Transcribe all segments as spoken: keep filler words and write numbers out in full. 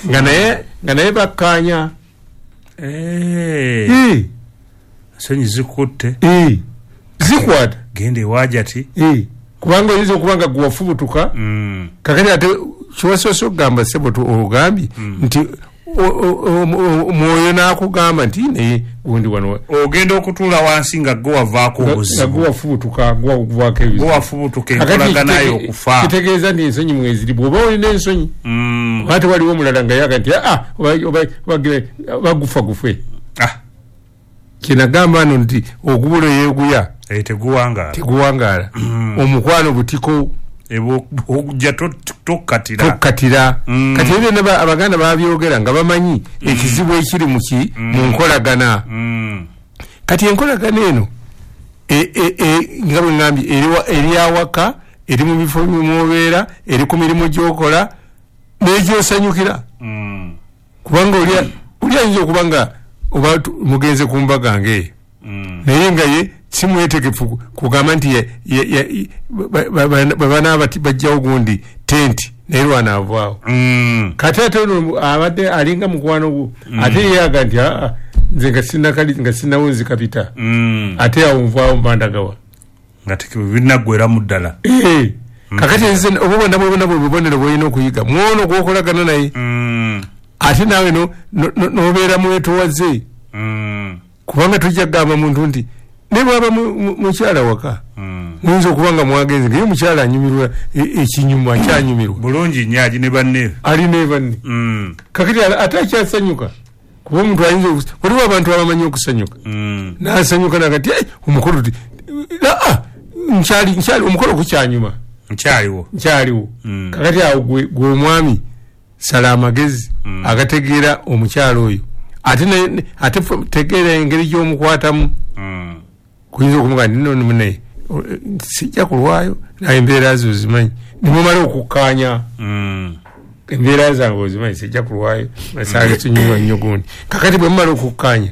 Nga naye nga naye bakkaanya. Eh. Ensonyi zikutte. Eh. Zikwata. Genda ewajati. Eh. Kubanga oyinza okuba nga gwe wafubutuka. Mm. Kakati ate kiwasoose okugamba ssebo ogambye Mm. nti omwoyo n'akugamba nti naye gundi wano ogenda okutuula wansi nga gwe wavaako nga obuzibu. gwe wafubutuka, gwe wakuvaako ebizibu. Gwe wafubutuka Kakati enkolagana kitege- yo okufa. Kitegeeza nti ensonyi mweziri bw'oba olina ensonyi. Mm. Ate waliwo omulala nga yaga nti aa bagufa gufe. Ah. Kyenagamba nno nti ogubula yeeguya Eh, teguwangaala. teguwangaala. Mm. Omukwano butiko Ojja tokkatira. tokkatira. Mm. Kati ebyo byonna Abaganda babyogera nga bamanyi ekizibu ekiri mu ki mu nkolagana. Mm. Kati enkolagana eno e, e, e, nga bwe ŋŋambye eri awaka, eri mu bifo mw'obeera, eri ku mirimu gy'okola n'egyosanyukira. Mm. Kubanga oli oli ayinza okuba nga oba mugenze ku mbaga ng'eyo. Mm. Naye nga ye si mwetegefu kugamba nti bwe banaaba bajjawo gundi tenti naye lwanaavaawo. Mm. Kati ate ono abadde alinga mukwano gwo ate ye aga nti aa nze nga sinnakali nga sinnawunzi kapita. Mm. Ate awo nvaawo mbandagawa. Nga tebinaggweramu ddala. Eh. Kakati nze obwo bwonna bwonna bwe bubonero bw'olina okuyiga mwono gw'okolagana naye. Mm. Ate naawe n'obeera mwetowaze. Mm. Kubanga tojja kugamba muntu nti ne bw'aba mukyala waka. Mm. Muyinza okuba nga mwagenze nga ye mukyala anyumirwa ekinyuma akyanyumirwa. Bulungi nnyo ali ne banne. Ali ne banne. Mm. Kakati ate akyasanyuka. Kuba omuntu ayinza waliwo abantu abamanyi okusanyuka. Mm. N'asanyuka n'agamba nti omukolo ti aa nkyali nkyali omukolo gukyanyuma. Nkyaliwo. Nkyaliwo. Mm. Kakati awo gwe gwe omwami sala amagezi Mm. agategeera omukyala oyo. Ate ne ate tegeera engeri gy'omukwatamu. Mm. Kuyinza okumugamba nti nno munne sijja kulwayo naye embeera zo ozimanyi. Nimumala okukkaanya. Mm. Embeera zange ozimanyi sijja kulwayo masanga tunyumwa nnyo gundi. Kakati bwe mumala okukkaanya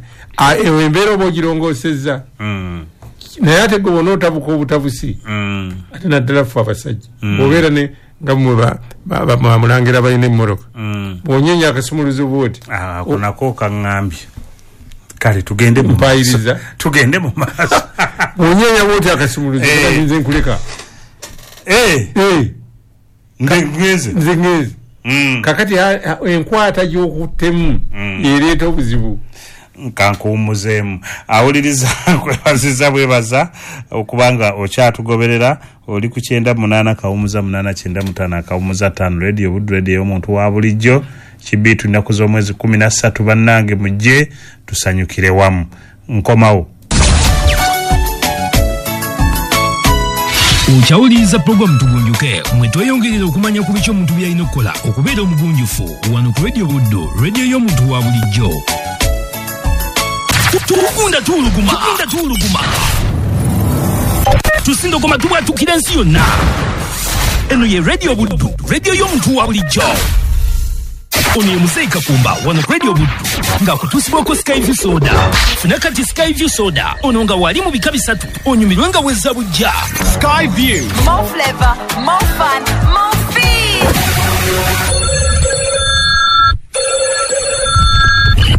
eyo embeera oba ogirongoosezza. Mm. Naye ate gwe bw'onootabuka obutabusi. Mm. Ate naddala ffe abasajja. Mm. Bw'obeera ne nga mmwe bamulangira balina emmotoka. Mm. Bw'onyeenya akasumuluzo bw'oti. Ah, ako nako kaŋŋambye. Kale tugende mu Mpayiriza. Tugende mu maaso. Bw'onyeenya bw'oti akasumuluzo Eh. nze nkuleka. Eh. Eh. Nze ngenze. Nze ngenze. Mm. Kakati enkwata gy'okuttemu Mm. ereeta obuzibu. Nkankuwummuzeemu. Awuliriza nkwebaziza bwebaza okubanga okyatugoberera oli ku kyenda munaana kawumuza munaana kyenda mutaano akawumuza ttaano Radio Buddu Radio y'omuntu wa bulijjo kibiitu ennaku z'omwezi kkumi na ssatu bannange mujje tusanyukire wamu. Nkomawo. Okyawuliriza pulogulaamu Tugunjuke mwe tweyongerera okumanya ku biki omuntu by'alina okukola okubeera omugunjufu wano ku Radio Buddu, radio y'omuntu wa bulijjo. Tugunda tuwuluguma, tugunda tuwuluguma, tusindogoma tubwatukira ensi yonna. Eno ye Radio Buddu, radio y'omuntu wa bulijjo. Ono ye Muzeeyi Kakumba wano ku Radio Buddu ng'akutuusibwako Skyview Soda. Funa kati Skyview Soda ono nga wali mu bika bisatu onyumirwe nga wezza bujja. Skyview. More flavor, more fun, more feed.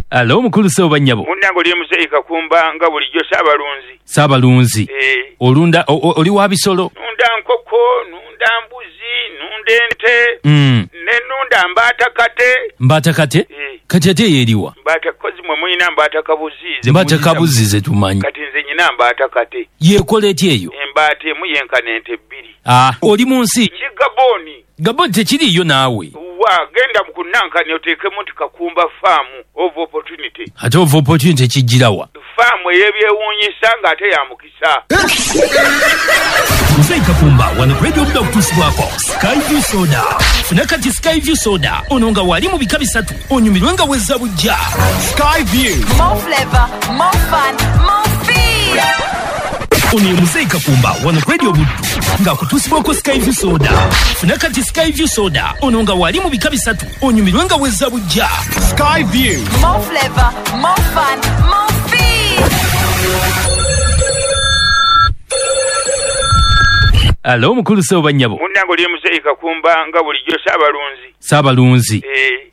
Alo mukulu ssebo bannyabo. Munnange oli Muzeeyi Kakumba nga bulijjo Ssaabalunzi. Ssaabalunzi. Eh. Olunda oli wa bisolo? Nunda nkoko, nunda mbuzi, nunda ente. Mm. Ne nunda mbaata kate. Mbaata kate? Eh. Kati ate yeeriwa? Mbaata kozi mwe mulina mbaata kabuzi. Mbaata kabuzi ze tumanyi. Kati nze nyina mbaata kate. Yeekola etya eyo? Embaata emu yenkana ente bbiri. Ah, oli mu nsi? Ki Gaboni. Gaboni tekiriiyo naawe. Wa genda mu kunankani oteekemu nti Kakumba Farm of Opportunity. Ate of Opportunity kijjirawa? Faamu ey'ebyewuunyisa ng'ate ya mukisa. Muzeeyi Kakumba wano ku Radio Buddu akutuusibwako Skyview Soda. Funa kati Skyview Soda ono nga wali mu bika bisatu onyumirwe nga wezza bujja. Skyview. More flavor, more fun, more feed. Ono ye Muzeeyi Kakumba wano ku Radio Buddu ng'akutuusibwako Skyview Soda. Funa kati Skyview Soda ono nga wali mu bika bisatu onyumirwe nga wezza bujja. Skyview. More flavor, more fun, more feed. Alo mukulu ssebo bannyabo. Munnange oli Muzeeyi Kakumba nga bulijjo Ssaabalunzi. Ssaabalunzi. Eh.